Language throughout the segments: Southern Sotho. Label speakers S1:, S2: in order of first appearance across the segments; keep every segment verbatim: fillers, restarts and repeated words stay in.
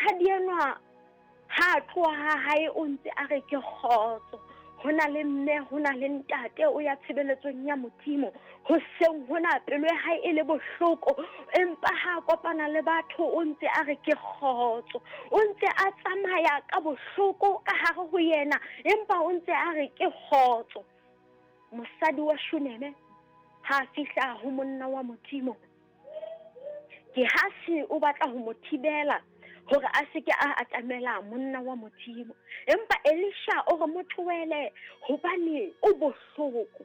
S1: Mosadi enwa ha a tloha ha hae o ntse a re ke kgotso. Ho na le mme, ho na le ntate, o ya tshebeletsong ya Modimo. Hoseng hona pelo ya hae e le bohloko, empa ha a kopana le batho o ntse a re ke kgotso. O ntse a tsamaya ka bohloko ka hare ho yena, empa o ntse a re ke kgotso. Mosadi wa Shuneme ha a fihla ho monna wa Modimo, Gehasi o batla ho mo thibela hore a se ke a atamela monna wa Modimo. Empa Elisha o re mo tlohele hobane o bohloko.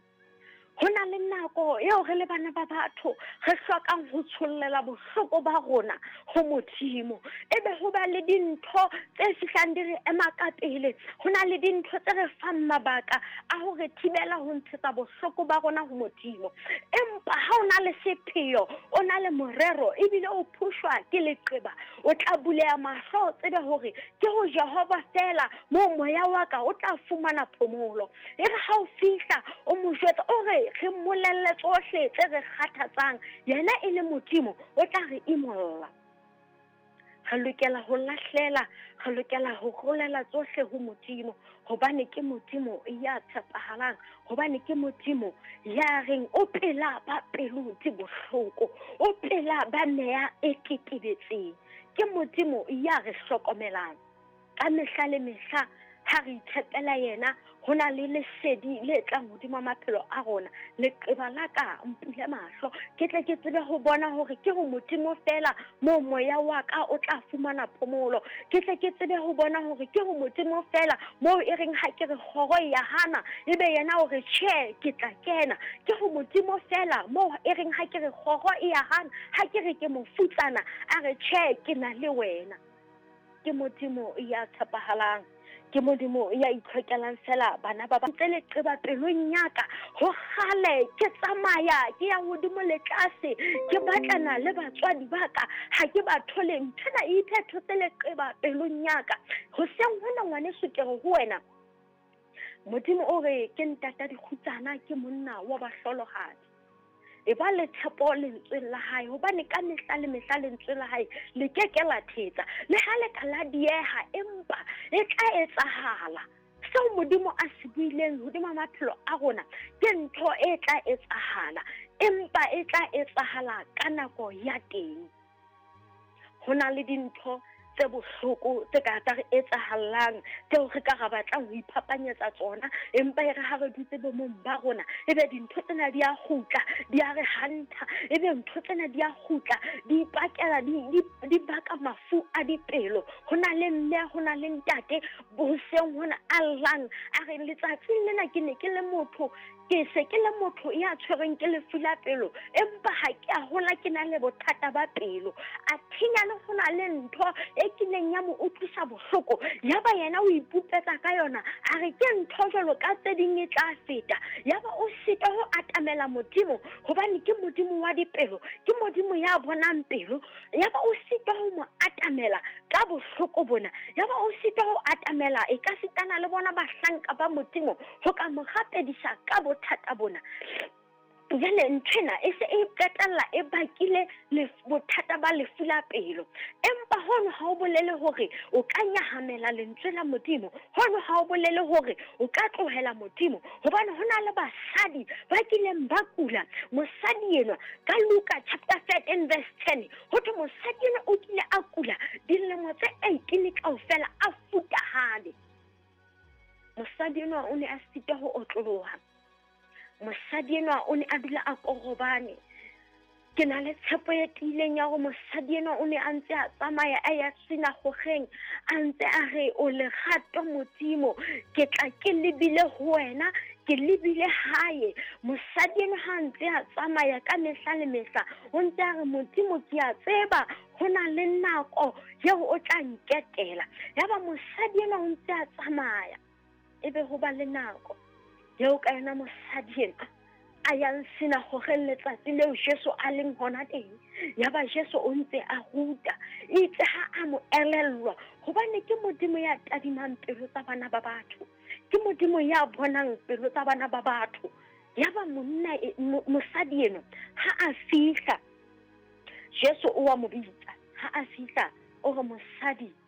S1: Ho na le nako eo re le bana ba batho re hlokang ho tshollela bohloko ba rona ho Modimo. Ebe ho ba le dintho tse fihlang di re ema ka pele. Ho na le dintho tse re fang mabaka a hore thibela ho ntshetsa bohloko ba rona ho Modimo. Empa ha o na le sepheo, o na le morero, ebile o phushwa ke leqeba, o tla buleha mahlo, o tsebe hore ke ho Jehova feela moo moya wa ka o tla fumana phomolo. E re ha o fihla o mo jwetsa, o re re mmolelle tsohle tse re kgathatsang, yena e le Modimo o tla re imolla. Re lokela ho lahlela, re lokela ho rolela tsohle ho Modimo, hobane ke Modimo ya tshepahalang, hobane ke Modimo ya reng o pela ba pelo di bohloko, o pela ba meya e tetebetseng. Ke Modimo ya re hlokomelang ka mehla le mehla. Ha re itshepela yena, ho na le lesedi le tlang hodima maphelo a rona. Leqeba la ka mpule mahlo, ke tle ke tsebe ho bona hore ke ho Modimo feela moo moya wa ka o tla fumana phomolo. Ke tle ke tsebe ho bona hore ke ho Modimo feela moo e reng ha ke re kgoro ya hana, ebe yena o re tjhe, ke tla kena. Ke ho Modimo feela moo e reng ha ke re kgoro e ya hana, ha ke re ke mofutsana, a re tjhe, ke na le wena. Ke Modimo ya tshepahalang, ke Modimo ya itlhokelang fela bana ba ba ntse leqeba pelong ya ka. Ho kgale ke tsamaya ke ya hodimo le tlase, ke batlana le batswadi ba ka, ha ke ba thole. Nthwena e iphethotse leqeba pelong ya ka. Hoseng hona ngwaneso ke re ho wena, Modimo o re ke ntata dikgutsana, ke monna wa bahlolohadi. E ba le tshepo lentsweng la hae, hobane ka mehla le mehla lentswe la hae le ke ke la thetsa. Le ha le ka la dieha, empa e tla etsahala. Seo Modimo a se buileng hodima maphelo a rona ke ntho e tla etsahala, empa e tla etsahala ka nako ya teng. Ho na le dintho tse bohloko tse ka tsa re etsahallang, tseo re ka ra batlang ho iphapanyetsa tsona, empa e re ha re dutse bomong ba rona, ebe dintho tsena di a kgutla, di a re hanta, ebe ntho tsena di a kgutla, di ipakela, di, di, di baka mafu a dipelo. Ho na le mme, ho na le ntate hoseng hona a llang, a re letsatsing lena ke ne ke le motho, ke se ke le motho ya tshwerweng ke lefu la pelo, empa ha ke a hola ke na le bothata ba pelo. A thinya le ho na le ntho e kileng ya mo utlwisa bohloko, yaba yena o ipupetsa ka yona, a re ke ntho jwalo ka tse ding e tla feta. Yaba o sitwa ho atamela Modimo, hobane ke Modimo wa dipelo, ke Modimo ya bonang pelo. Yaba o sitwa ho mo atamela ka bohloko bona, yaba o sitwa ho atamela e ka sitana le bona bahlanka ba Modimo ho ka mo rapedisa ka bothata bona. Jwale nthwena e se e qetella e bakile bothata ba lefu la pelo. Empa hono ha o bolele hore o ka nyahamela lentswe la Modimo, hono ha o bolele hore o ka tlohela Modimo, hobane ho na le basadi ba kileng ba kula. Mosadi enwa ka Luka chapter thirteen verse ten, ho thwe mosadi enwa o kile a kula dilemo tse eighteen kaofela a futahane. Mosadi enwa o ne a sitwa ho otloloha. Mosadi enwa o ne a dula a korobane. Ke na le tshepo e tiileng ya hore mosadi enwa o ne a ntse a tsamaya a ya sinagogeng, a ntse a re o lerato Modimo, ke tla ke lebile ho wena, ke lebile hae. Mosadi enwa ha ntse a tsamaya ka mehla le mehla, o ntse a re Modimo ke a tseba ho na le nako eo o tla nketela. Yaba mosadi enwa o ntse a tsamaya, ebe ho ba le nako eo ka yona mosadi enwa a yang sinagogeng letsatsi leo Jesu a leng hona teng. Yaba Jesu o ntse a ruta, itse ha a mo elellwa, hobane ke Modimo ya tadimang pelo tsa bana ba batho, ke Modimo ya bonang pelo tsa bana ba batho. Yaba monna e, mosadi enwa ha a fihla, Jesu o wa mo bitsa. Ha a fihla o re mosadi